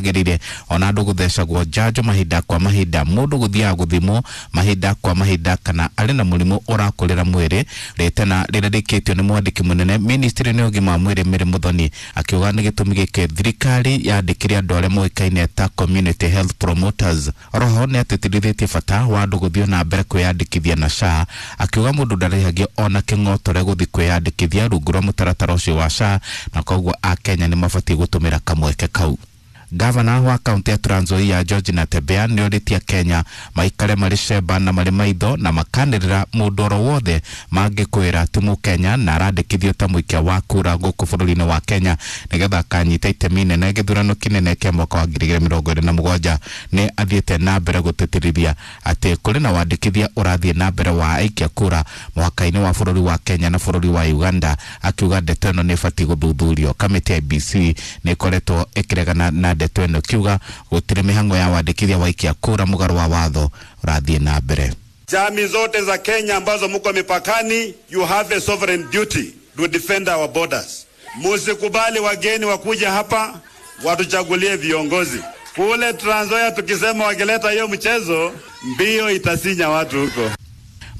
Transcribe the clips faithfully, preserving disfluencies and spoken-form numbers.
Gerire ona andũ gũthecagwo njanjo mahinda kwa mahinda, mũndũ gũthiaga gũthimwo mahinda kwa mahinda kana arĩ na mũrimũ ũrakũrĩra mwĩrĩ. Rĩtana rĩrĩa rĩkĩtio nĩ mwandĩki mũnene ministry-inĩ ya ũgima wa mwĩrĩ Mary Muthoni, akiuga nĩ gĩtũmi gĩkĩ thirikari yandĩkire andũ arĩa moĩkaine ta community health promoters. Oroho nĩ atĩtĩrithĩtie bata wa andũ gũthiĩ na mbere kwĩyandĩkithia na S H A, akiuga mũndũ ndarĩhagio ona kĩng'otore gũthiĩ kwĩyandĩkithia rungu rwa mũtaratara ũcio wa S H A, na koguo akenya nĩ mabatiĩ gũtũmĩra kamweke kau. Gavana wa kaunti ya Trans Nzoia George Natembeya nĩ orĩtie Kenya maikare marĩ cemba na marĩ maitho na makanĩrĩra mũndũ oro wothe mangĩkwĩra ti mũkenya na arandĩkithio ta mũikia wa kura gũkũ bũrũri-inĩ wa Kenya nĩgetha akanyita itemi inene gĩthurano kĩnene kĩa mwaka wa ngiri igĩrĩ mĩrongo ĩrĩ na mũgwanja. Nĩ athiĩte na mbere gũtĩtĩrithia atĩ kũrĩ na wandĩkithia ũrathiĩ na mbere wa aikia kura mũhaka-inĩ wa bũrũri wa Kenya na bũrũri wa Uganda, akiuga ndeto ĩno nĩ ĩbatiĩ gũthuthurio. Kamĩtĩ ya I B C nĩ ĩkoretwo ĩkĩregana na ndeto ĩno kiuga gũtirĩ mĩhang'o ya wandĩkithia wa aikia kura mũgarũ wa watho ũrathiĩ na mbere. Jamii zote za Kenya ambazo mko mipakani, you have a sovereign duty to defend our borders. Musikubali wageni wakuja hapa watuchagulie viongozi. Kule Trans Nzoia tukisema wakileta hiyo mchezo, mbio itasinya watu huko.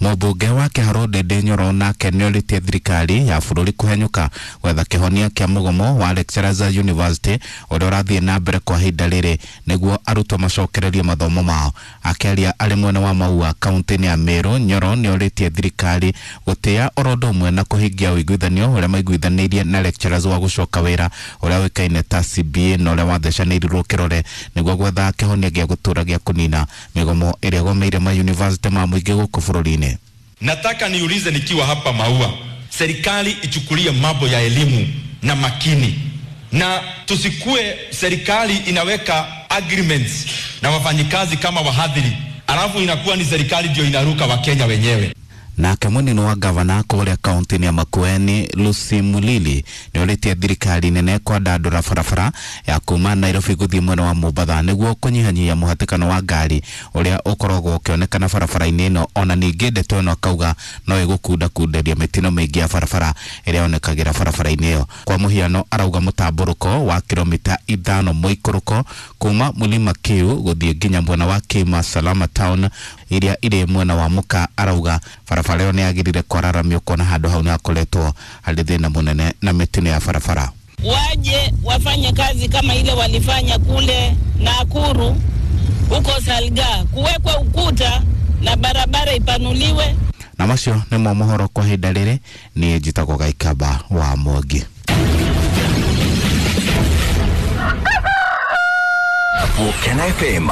Mũmbunge wa Kĩharũ Ndindi Nyoro nake nĩorĩtie thirikari ya bũrũri kũhenyũka gwetha kĩhonia kĩa mũgomo wa Lecturers University ũrĩa ũrathiĩ na mbere kwa ihinda rĩrĩ nĩguo arutwo macokererie mathomo mao. Akĩaria arĩ mwena wa Maua kaunti-inĩ ya Meru, Nyoro nĩorĩtie thirikari gũtĩa oro ũndũ ũmwe na kũhingia ũiguithanio ũrĩa maiguithanĩirie na lecturers wa gũcoka wĩra ũrĩa ũĩkaine ta C B A na ũrĩa wathecanĩirirwo kĩrore nĩguo gwetha kĩhonia gĩa gũtũra gĩa kũnina mĩgomo ĩrĩa ĩgomeire ma university ma mũingĩ gũkũ bũrũri-inĩ. Nataka niulize nikiwa hapa Maua, serikali ichukulie mambo ya elimu na makini, na tusikue serikali inaweka agreements na wafanyikazi kama wahadhiri, alafu inakuwa ni serikali ndio inaruka Wakenya wenyewe. Nake munini wa gavana kũrĩa kaunti-inĩ ya Makueni Lucy Mulili nĩorĩtie thirikari nene kwandandũra barabara ya kuma Nairobi gũthiĩ mwena wa Mombatha nĩguo kũnyihanyihia mũhatĩkano wa ngari ũrĩa ũkoragwo ũkĩonekana barabara-inĩ ĩno. Ona ningĩ ndeto ĩno akauga no ĩgũkundakunderia mĩtino mĩingĩ ya barabara ĩrĩa yonekagĩra barabara-inĩ ĩyo. Kwa mũhiano arauga mũtambũrũko wa kilomita ithano mũikũrũko kuma Mlima Kiu gũthiĩ nginya mwena wa Kima Salama Town iria irĩ mwena wa Muka, arauga barabara ĩyo nĩyagĩrĩire kwararamio kuona handũ hau nĩhakoretwo harĩ thĩna mũnene na mĩtino ya barabara. Waje wafanye kazi kama ile walifanya kule Nakuru huko Salga, kuwekwe ukuta na barabara ipanuliwe. Na macio nĩmo mohoro kwa ihinda rĩrĩ. Niĩ njĩtagwo Gaikaba wa Mwangi. Volcano F M.